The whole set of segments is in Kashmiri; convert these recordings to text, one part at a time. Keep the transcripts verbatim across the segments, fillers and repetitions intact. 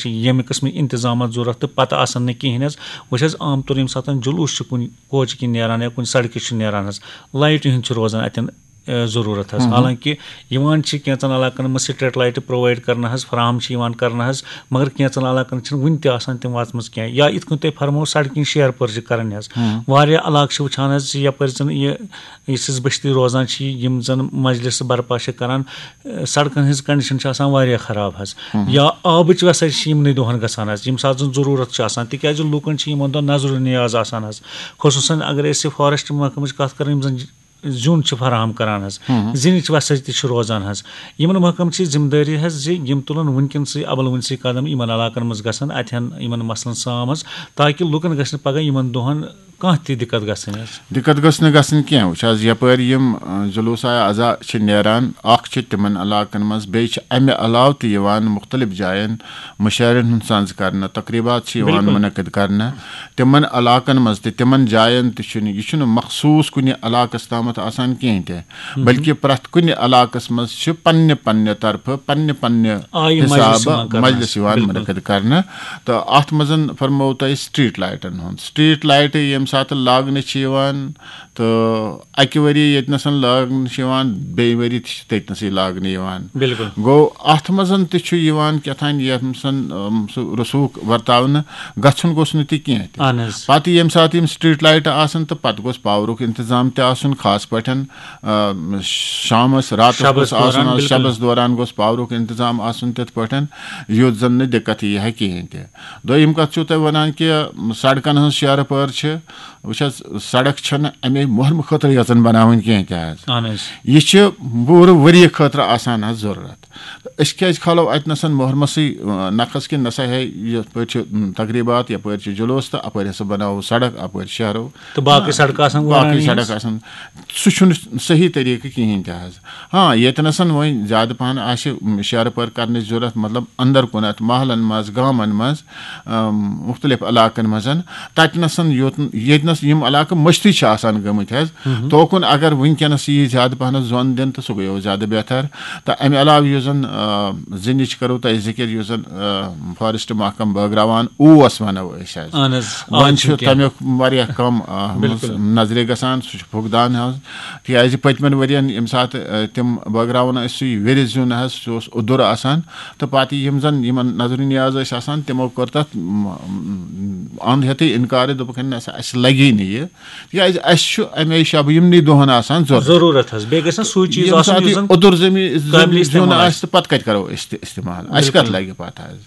چھِ ییٚمہِ قٕسمٕکۍ انتظامات ضروٗرت تہٕ پَتہٕ آسان نہٕ کِہیٖنۍ حظ۔ وۄنۍ چھِ حظ عام طور ییٚمہِ ساتہٕ جلوٗس چھُ کُنہِ کوچہِ کِنۍ نیران یا کُنہِ سڑکہِ چھُ نیران حظ، لایٹہِ ہُنٛد چھُ روزان اَتٮ۪ن، اے، ضروٗرت حظ۔ ہم۔ حالانکہ یِوان چھِ کینٛژن علاقن منٛز سٹریٹ لایٹہٕ پرووائڈ کرنہٕ حظ، فراہم چھِ یِوان کرنہٕ حظ، مگر کینٛژن علاقن چھِنہٕ وُنہِ تہِ آسان تِم واتمٕژ کینٛہہ۔ یا یِتھ کٔنۍ تۄہہِ فرموو، سڑکہِ ہِنٛز شیہہ پٲرچہِ کرٕنۍ حظ۔ ہم۔ واریاہ علاقہٕ چھِ وٕچھان حظ زِ یپٲرۍ زن یہِ، یُس أسۍ بستی روزان چھِ، یِم زن مجلس برپا چھِ کران، اے، سڑکن ہٕنٛز کنڈیشن چھِ آسان واریاہ خراب حظ۔ ہم۔ یا آبٕچ ویسے چھِ یِمنٕے دۄہن گژھان حظ، ییٚمہِ ساتہٕ زن ضروٗرت چھِ آسان، تِکیازِ لُکن چھِ یِمن دۄہن نظرُ نیاز آسان حظ۔ خصوٗصاً اگر أسۍ فارسٹ محکمٕچ کتھ کرو، یِم زن زیُن چھِ فراہم کران حظ، ہم۔ زِنِچ وسٲتی چھِ روزان حظ۔ یِمن محکمہٕ چھِ ذمہٕ دٲری حظ زِ یِم تُلن وٕنکیٚنسٕے، اول وٕنسٕے قدم یِمن علاقن منٛز گژھن، اتہِ ہن یِمن مسلن سام حظ، تاکہِ لُکن گژھِ نہٕ پگاہ یِمن دۄہن کانٛہہ تہِ دِقت گژھٕنۍ حظ۔ دِقت گٔژھ نہٕ گژھٕنۍ کینٛہہ۔ وٕچھ حظ، یپٲرۍ یِم، اَ، جلوسا اعضا چھِ نیران، اکھ چھِ تِمن علاقن منٛز، بیٚیہِ چھِ امہِ علاوٕ تہِ یِوان مُختلف جاین مُشاعرن ہُنٛد سنز کرنہٕ، تقریبات چھِ یِوان بِلکُل۔ مُنعقد کرنہٕ۔ تِمن علاقن منٛز تہِ، تِمن جاین تہِ چھُنہٕ، یہِ چھُنہٕ مخصوٗص کُنہِ علاقس تامتھ آسان کِہیٖنۍ تہِ، بلکہِ پرٛٮ۪تھ کُنہِ علاقس منٛز چھِ پننہِ پننہِ طرفہٕ، پننہِ پننہِ آ، یہِ مجلس حسابہٕ یِوان کرنہٕ مجلس حظ۔ یِوان بِلکُل۔ مُنعقد کرنہٕ۔ تہٕ اتھ منٛز فرموو تۄہہِ سٹریٹ لایٹن ہُنٛد۔ سٹریٹ لایٹہٕ ییٚمہِ ساتہٕ لاگنہٕ چھِ یِوان، تہٕ اکہِ ؤری ییٚتہِ نَسَن لاگنہٕ چھِ یِوان، بیٚیہِ ؤری تہِ چھِ تٔتۍ نَسٕے لاگنہٕ یِوان۔ بِلکُل۔ گوٚو، اتھ منٛز تہِ چھُ یِوان کیٛاہ تام یَتھ منٛز، اَم، سُہ رسوٗخ ورتاونہٕ گژھُن گوٚژھ نہٕ تہِ کینٛہہ تہِ۔ اہن حظ۔ پتہٕ ییٚمہِ ساتہٕ یِم سٹریٹ لایٹہٕ آسَن تہٕ پتہٕ گوٚژھ پاورُک انتظام تہِ آسُن، خاص پٲٹھۍ، اَم، شامس، راتس شبس گوٚژھ آسُن دوران، حظ، بِلکُل۔ شبس دوران گوٚژھ پاورُک انتظام آسُن تِتھ پٲٹھۍ، یُتھ زن نہٕ دِقت یی ہا کِہیٖنۍ تہِ۔ دوٚیِم کتھ چھُو تۄہہِ ونان کہِ سڑکن ہٕنٛز شیرٕ پٲر چھِ، وٕچھ حظ، سڑک چھنہٕ امے مُہرمہٕ خٲطرٕ یٲژن بناوٕنۍ کینٛہہ تہِ حظ۔ اہن حظ۔ یہِ چھِ پوٗرٕ ؤریہِ خٲطرٕ آسان حظ ضروٗرت۔ أسۍ کیازِ کھالو اتہِ نسن مُہرمسٕے، اَ، نکھس کہِ نسا ہے یتھ پٲٹھۍ چھِ، م، تقریبات، یپٲرۍ چھِ جلوس تہٕ اپٲرۍ ہسا بناوو سڑک، اپٲرۍ شہرو۔ تہٕ باقٕے سڑکہٕ آسان وٲرانٕے باقٕے حظ۔ سڑک آسان۔ سُہ چھُنہٕ صحیح طریقہٕ کِہیٖنۍ تہِ حظ۔ ہاں، ییٚتہِ نَسَن وۄنۍ زیادٕ پَہَن آسہِ، م، شیرٕ پٲر کَرنٕچ ضوٚرَتھ، مطلب، اَندَر کُنَتھ محلَن منٛز، گامَن منٛز، اَم، مُختلِف علاقَن منٛز، تَتہِ نَسَن یوت، ییٚتہِ نَس یِم علاقہٕ مٔشتٕے چھِ آسان گٔمٕتۍ حظ، مہم۔ توکُن اگر وٕنکیٚنَس یی زیادٕ پَہَنَس زۄن دِنہٕ تہٕ سُہ گوٚو زیادٕ بہتر۔ تہٕ اَمہِ علاوٕ یُس زَن، آ، زِنِچ کَرو تۄہہِ ذِکِر، یُس زَن، آ، فارسٹ محکمہٕ بٲگراوان اوس، وَنو أسۍ حظ۔ اہن حظ، وۄنۍ آز چھُ چھُنہٕ کینٛہہ۔ تَمیُک واریاہ کَم، آ، بِلکُل۔ نظرِ گژھان، سُہ چھُ فُقدان حظ۔ تِکیٛازِ پٔتمٮ۪ن ؤرین ییٚمہِ ساتہٕ، آ، تِم بٲگراوان ٲسۍ سُے وِرِ زیُن حظ، سُہ اوس اوٚدُر آسان، تہٕ پتہٕ یِم زن یِمن نظرِ نیاز ٲسۍ آسان، تِمو کٔر تتھ، م، م، اند ہیتھٕے انکار، دوٚپُکھ، "ہے نہ سا، اسہِ لگی نہٕ یہِ، تِکیٛازِ اسہِ چھُ امے شبہٕ یِمنٕے دۄہن آسان ضروٗرت۔" ضروٗرت حظ، بیٚیہِ گژھِ نہ سُے چیٖز ییٚمہِ آسُن، ساتہٕ یُس یہِ زن اوٚدُر زٔمیٖن، قٲبلِ زیُن استعمال آسہِ آسہِ۔ تہٕ پتہٕ کتہِ کرو أسۍ تہِ استعمال؟ اسہِ کتھ بِلکُل۔ لگہِ پتہٕ حظ؟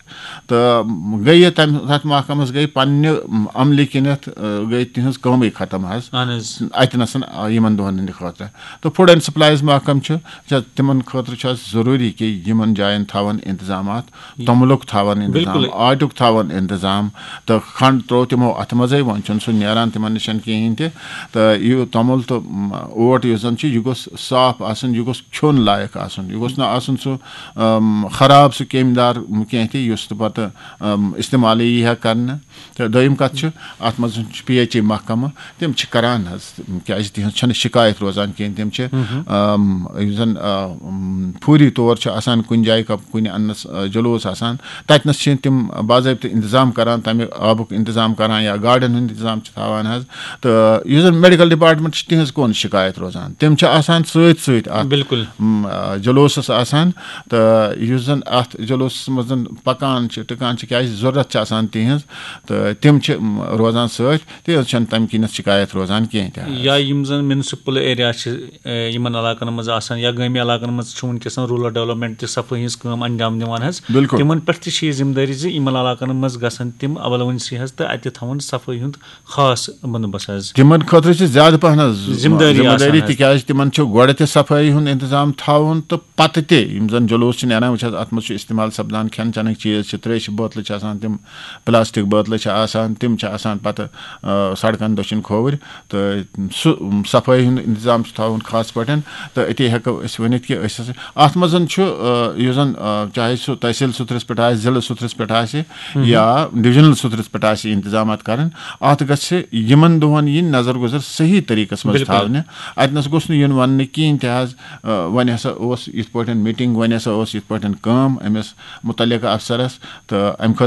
تہٕ گٔیہِ تَمہِ، تَتھ محکمَس گٔیہِ پننہِ عملہِ کِنٮ۪تھ، آ، گٔیہِ تِہنٛز کٲمٕے ختم حظ۔ اہن حظ۔ اَتہِ نَسَن، آ، یِمن دۄہَن ہٕنٛدِ خٲطرٕ۔ تہٕ فوڈ اینڈ سپلایز محکمہٕ چھُ، چھا، تِمن خٲطرٕ چھُ اَسہِ ضروٗری کہِ یِمن جاین تھاوَن انتظامات، توٚملُک تھاوَن انتظام، بِلکُل۔ آٹُک تھاوَن انتظام، تہٕ کھنٛڈ ترٛوو تِمو اَتھ منٛزٕے، وۄنۍ چھُنہٕ سُہ نیران تِمن نِشَن کِہیٖنۍ تہِ۔ تہٕ یہِ توٚمُل تہٕ، م، اوٹ یُس زَن چھُ، یہِ گوٚژھ صاف آسُن، یہِ گوٚژھ کھیوٚن لایق آسُن، یہِ گوٚژھ نہٕ آسُن سُہ، ام، خراب سُہ کیٚمۍ دار کینٛہہ تہِ، یُس تہٕ پتہٕ، ام، استعمالٕے یی ہا کرنہٕ۔ تہٕ دوٚیِم کتھ چھِ، اتھ منٛز چھُ پی ایچ ای محکمہٕ، تِم چھِ کران حظ، کیازِ تِہنٛز چھنہٕ شکایت روزان کینٛہہ، تِم چھِ، ام، یُس زن، ام، فوری طور چھُ آسان کُنہِ جایہِ کا-، کُنہِ انس، آ، جلوس آسان، تتہِ نس چھِ تِم باضٲبطہٕ انتظام کران، تمہِ آبُک انتظام کران یا گاڑٮ۪ن ہُنٛد انتظام چھِ تھاوان حظ۔ تہٕ یُس زَن میڈیکل ڈپارٹمنٹ چھُ، تِہنٛز کون شِکایت روزان؟ تِم چھِ آسان سۭتۍ سۭتۍ اَتھ، بِلکُل۔ م، آ، جلوسَس آسان، تہٕ یُس زَن اَتھ جلوسَس منٛز زَن پَکان چھِ، ٹِکان چھِ، کیٛازِ ضروٗرت چھِ آسان تِہنٛز، تہٕ تِم چھِ، م، روزان سۭتۍ، تِہنٛز چھَنہٕ تَمہِ کِنٮ۪تھ شِکایت روزان کینٛہہ تہِ حظ۔ یا یِم زَن میونسپل ایریا چھِ، اے، یِمن علاقن منٛز آسان یا گٲمی علاقن منٛز چھِ وٕنکیٚس روٗرل ڈیولپمنٹ تہِ صفٲیی ہٕنٛز کٲم انجام دِوان حظ، بِلکُل۔ تِمن پٮ۪ٹھ تہِ چھِ یہِ ذمہٕ دٲری زِ یِمن علاقن منٛز گژھن تِم اول ؤنسٕے حظ تہٕ اَتہِ تھاوُن صفٲیی ہُنٛد خاص بندوبست حظ۔ تِمن خٲطرٕ چھِ زیادٕ پہن حظ ذمہٕ دٲری ذمہٕ آسان دٲری، حظ۔ تِکیازِ تِمن چھُ گۄڈٕ تہِ صفٲیی ہُنٛد انتظام تھاوُن تہٕ پتہٕ تہِ یِم زن جلوس چھِ نیران، وٕچھ حظ، اتھ منٛز چھُ استعمال سپدان کھٮ۪ن چٮ۪نٕکۍ چیٖز چھِ، تریشہِ بٲتلہٕ چھِ آسان، تِم پلاسٹک بٲتلہٕ چھِ آسان، تِم چھِ آسان پتہٕ، آ، سڑکن دٔچھِنۍ کھووٕرۍ، تہٕ سُہ صفٲیی ہُنٛد انتظام چھُ تھاوُن خاص پٲٹھۍ۔ تہٕ أتی ہٮ۪کو أسۍ ؤنِتھ کہِ أسۍ ہسا، اتھ منٛز چھُ، آ، یُس زن، آ، چاہے سُہ تحصیل سُترس پٮ۪ٹھ آسہِ، ضلعہٕ سُترس پٮ۪ٹھ آسہِ، یا ڈویژنل سُترس پٮ۪ٹھ آسہِ، انتظامات کرٕنۍ، اتھ گژھِ یِمن دۄہن یِنۍ نظر گُزر صحیح طریقس منٛز تھاونہٕ۔ اتنس گوٚژھ نہٕ یُن وننہٕ کِہینۍ تہِ حظ، آ، وۄنۍ ہسا اوس یِتھ پٲٹھۍ میٹنگ، وۄنۍ ہسا اوس یِتھ پٲٹھۍ کٲم أمِس متعلقہٕ افسرس، تہٕ امہِ خٲطرٕ